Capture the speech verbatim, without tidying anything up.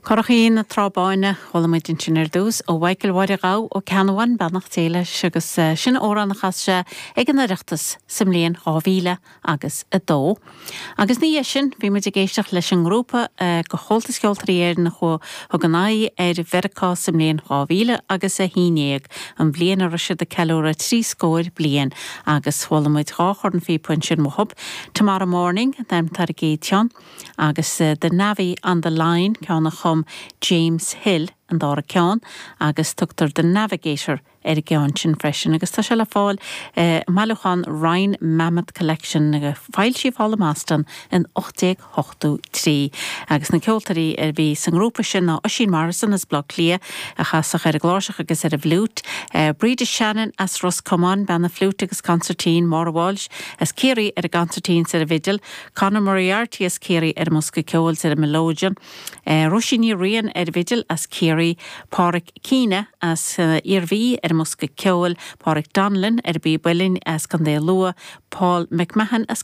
Currachín na Trá Báine chuala muid ansin ar dtús ó Mhichael Mháire Ghabh ó Ceanbhain beannacht Dé leis agus eh, sin amhrán a chas sé ag an Oireachtas sa mbliain dhá mhíle agus a dó. Agus ina dhiaidh sin bhí muid ag éisteacht leis an ngrúpa eh, de Chomhaltas Ceoltóirí Éireann a thug a n-aghaidh ar Mheiriceá sa mbliain dhá mhíle agus a haon déag an bhliain a raibh siad ag ceiliúradh trí scór bliain agus chuala muid dhá chornphíopa ansin uathu. Tomorrow Morning an t-ainm ar an gcéad cheann agus uh, The Navvy on the Line ceann a chum James Hill an dara ceann agus tugtar The Navigator ar an gceann sin freisin agus tá sé le fáil eh, mbailiúchán Ryan Mammoth Collection a foilsíodh thall i mBoston in ocht déag ochtó trí. Agus na ceoltóirí a bhí sa ngrúpa sin ná Oisín Morrison as Baile Átha Cliath a chasach ar an gcláirseach agus ar an bhfliúit, eh, Breda Shannon as Ros Comáin bean na fliúit agus consairtín Maura Walsh as Ciarraí ar an gconsairtín ar an bhfidil, Conor Moriarty as Ciarraí ar an mbosca ceoil ar an melodeon, eh, Róisín Ní Riain ar an bhfidil as Ciarraí, Pádraig Keena as uh, Iarmhí ar an mbosca ceoil, Pádraig Donlin ar an bpíb uilleann as Contae Lú, Paul McMahon as